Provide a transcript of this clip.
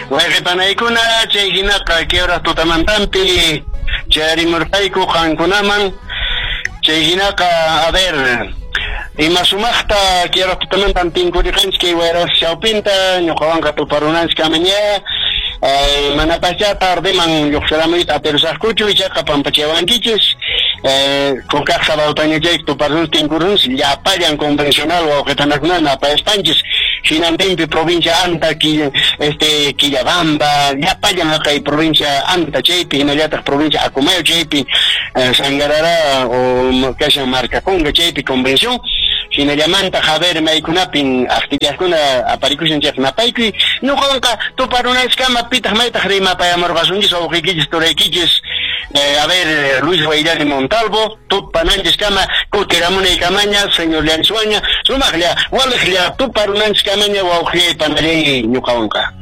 Wayqi panaykuna, chay hinaqa kiuraq tutamantampi chayarimurqayku qankunaman. Chay hinaqa, a ver, ima sumaqta kiuraq tutamantan tinkuriqanchik kay wayras chawpinta, ñuqawanqa tuparunanchik kamaña. Manapaschá tardeman lluqsiramuyta atirusaqkuchu, ichaqa pampachawankichis. Kukaq sabadotaña chay tuparunchik tinkurunchik llapallan convencional wawqipanakuna napayaspanchis hinantinpi provincia Anta, Quillabamba, llapallan haqay provincia Anta chaypi, hinallataq provincia Acomayo chaypi, Sangarará o kashan Marcaconga chaypi convención. Hinallamanta a ver maykunapin actividadkuna aparikushan chayqa napaykuy. Ñuqawanqa tuparunanchiskama pitaq maytaq rimapayamurqasunchis wawqiykichis turaykichis, a ver, Luis Guayllani Montalvo, tupananchiskama kutiramunaykamaña, señor Llaniswaña, sumaqlla waliqlla tuparunanchiskamaña wawqillay panallay ñuqawanqa.